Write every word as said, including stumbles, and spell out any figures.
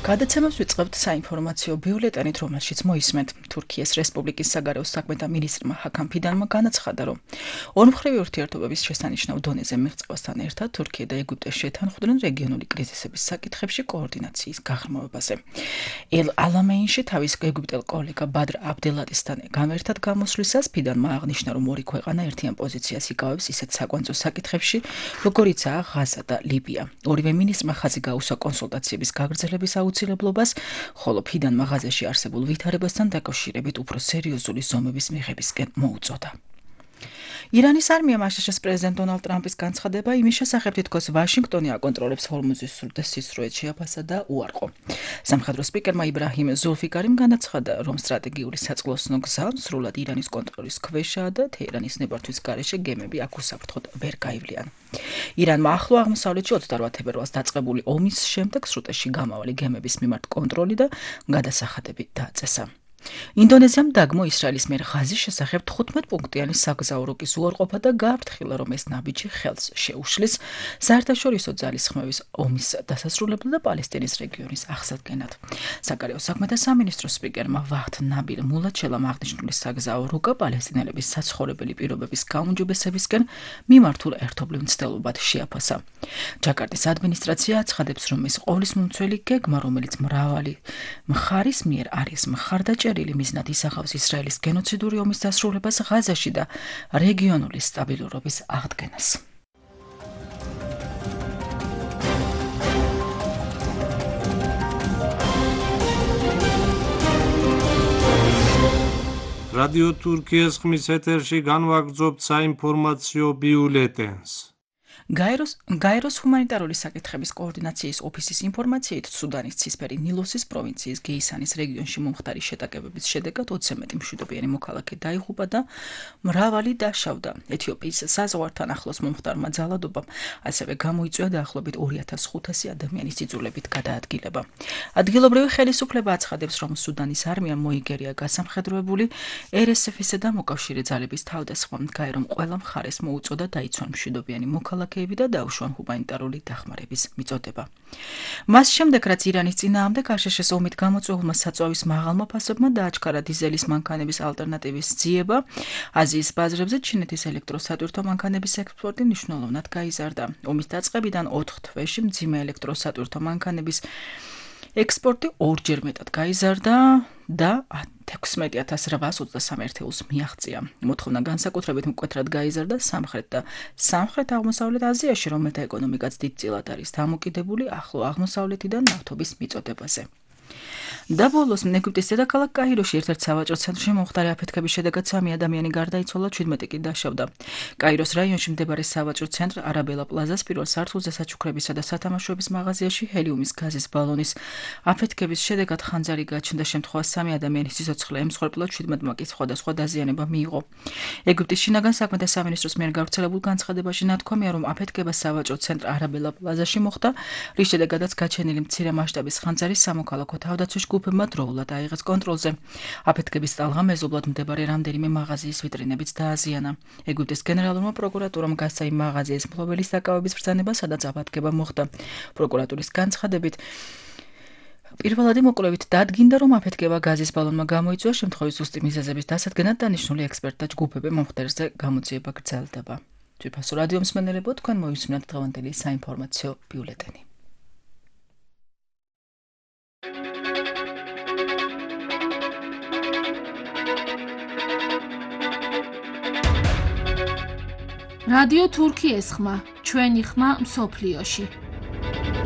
გადაცემას ვიწყებთ საინფორმაციო ბიულეტენით, რომელშიც მოისმენთ თურქიის რესპუბლიკის საგარეო საქმეთა მინისტრმა ჰაკან ფიდანმა განაცხადა, რომ ორმხრივი ურთიერთობების შესანიშნავ დონეზე მიღწევასთან ერთად თურქია და ეგვიპტე შეთანხმდნენ რეგიონული კრიზისების საკითხებში კოორდინაციის გაღრმავებაზე. ელ ალამეინში თავის ეგვიპტელ კოლეგა ბადრ აბდელატისთან გამერთად გამოსვლისას ფიდანმა აღნიშნა, რომ ორი ქვეყანა ერთიან პოზიციას იკავებს ისეთ საკვანძო საკითხებში, როგორიცაა ღაზა და ლიბია. ორივე მინისტრმა ხაზი გაუსვა კონსულტაციების გაგრძელების აუცილებლობას, ხოლო ფიდანმა ღაზაში არსებულ ვითარებასთან დაკავშირებით უფრო სერიოზული ზომების მიღებისკენ მოუწოდა. ირანის არმიამ აშშ-ს პრეზიდენტ დონალდ ტრამპის განცხადება იმის შესახებ თითქოს ვაშინგტონი აკონტროლებს ჰორმუზის სრუტეს სისწრუეთ შეაფასა და უარყო. სამხედრო სპიკერმა იბრაჰიმ ზულფიკარიმ განაცხადა, რომ სტრატეგიული საწყლოსნო გზა სრულად ირანის კონტროლის ქვეშაა და თეირანის ნებართვის გარეშე გემები აქ უსაფრთხოდ ვერ გაივლიან. ირანმა ახლო აღმოსავლეთში ოცდაოთხ თებერვალს დაწყებული ომის შემდეგ სრუტეში გამავალი გემების მიმართ კონტროლი და გადასახადები დააწესა. ინდონეზიამ დაგმო ისრაელის მიერ ღაზის შესახებ თხუთმეტ პუნქტიანი საგზაო რუკის უარყოფა და გააფრთხილა, რომ ეს ნაბიჯი ხელს შეუშლის საერთაშორისო ძალისხმევის ომის დასასრულებლად და პალესტინის რეგიონის აღსადგენად. საგარეო საქმეთა სამინისტროს სპიკერმა ვაჰდ ნაბილ მულაჩელამ აღნიშნული საგზაო რუკა პალესტინელების საცხოვრებელი პირობების გაუმჯობესებისკენ მიმართულ ერთობლივ მცდელობად შეაფასა. ჯაკარტის ადმინისტრაცია აცხადებს, რომ ეს ყოვლის მომცველი გეგმა, რომელიც მრავალი მხარის მიერ არის მხარდაჭერილი მიზნად ისახავს ისრაელის გენოციდური ომის დასრულებას ღაზაში და რეგიონული სტაბილურობის აღდგენას. რადიო თურქიის ხმის ეთერში განვაგრძობთ საინფორმაციო ბიულეტენს. გაეროს გაეროს ჰუმანიტარული საკითხების კოორდინაციის ოფისის ინფორმაციით, სუდანის ცისფერი ნილოსის პროვინციის გეისანის რეგიონში მომხდარი შეტაკებების შედეგად ოცზე მეტი მშვიდობიანი მოქალაქე დაიღუპა და მრავალი დაშავდა. ეთიოპიის საზღვართან ახლოს მომხდარმა ძალადობამ ასევე გამოიწვია დაახლოებით ორი ათას ხუთასი ადამიანის იძულებით გადაადგილება. ადგილობრივი ხელისუფლება აცხადებს, რომ სუდანის არმიამ მოიგერია გასამხედროებული ер ეს ეფ-ისა და მოკავშირე ძალების თავდასხმამ. გაერომ ყველა მხარეს მოუწოდა დაიცვან მშვიდობიანი მოქალაქე და დაუშვან ჰუმანიტარული დახმარების მიწოდება. მას შემდეგ, რაც ირანის წინააღმდეგ აშშ-ს ომით გამოწვეულმა საწვავის მაღალმა ფასებმა დააჩქარა დიზელის მანქანების ალტერნატივის ძიება, აზიის ბაზრებზე ჩინეთის ელექტროსატვირთო მანქანების ექსპორტი მნიშვნელოვნად გაიზარდა. ომის დაწყებიდან ოთხ თვეში მძიმე ელექტროსატვირთო მანქანების ექსპორტი ორჯერ მეტად გაიზარდა და ექვსმეტი ათას რვაას ოცდასამი ერთეულს მიაღწია. მოთხოვნა განსაკუთრებით მკვეთრად გაიზარდა სამხრეთ და სამხრეთ-აღმოსავლეთ აზიაში, რომელთა ეკონომიკაც დიდწილად არის დამოკიდებული ახლო აღმოსავლეთიდან ნავთობის მიწოდებაზე. და ბოლოს ეგვიპტის დედაქალაქ კაიროში ერთ-ერთ სავაჭრო ცენტრში მომხდარი აფეთქების შედეგად სამი ადამიანი გარდაიცვალა, ჩვიდმეტი კი დაშავდა. კაიროს რაიონში მდებარე სავაჭრო ცენტრ არაბელა პლაზას პირველ სართულზე საჩუქრებისა და სათამაშოების მაღაზიაში ჰელიუმის გაზის ბალონის აფეთქების შედეგად ხანძარი გაჩნდა. შემთხვევას სამი ადამიანის სიცოცხლე ემსხვერპლა, ჩვიდმეტმა კი სხვადასხვა დაზიანება მიიღო. ეგვიპტის შინაგან საქმეთა სამინისტროს მიერ გავრცელებულ განცხადებაში ნათქვამია, რომ აფეთქება სავაჭრო ცენტრ არაბელა პლაზაში მოხდა, რის შედეგადაც გაჩენილი მცირე მასშტაბის ხანძარი სამოქალაქო თავდაცვის ჯგუფებმა დროულად აიღეს კონტროლზე. აფეთქების ტალღა მეზობლად მდებარე რამდენიმე მაღაზიის ვიტრინებიც დააზიანა. ეგვიპტის გენერალურმა პროკურატურამ გასცა იმ მაღაზიის მფლობელის დაკავების ბრძანება, სადაც აფეთქება მოხდა. პროკურატურის განცხადებით, პირველადი მოკვლევით დადგინდა, რომ აფეთქება გაზის ბალონმა გამოიწვია, შემთხვევის ზუსტი მიზეზების დასადგენად დანიშნული ექსპერტთა ჯგუფები მომხდარზე გამოძიება გრძელდება. თვითფასო რადიო მსმენელებო, თქვენ მოისმინეთ დღევანდელი საინფორმაციო ბიულეტენი. რადიო თურქიის ხმა, ჩვენი ხმა მსოფლიოში.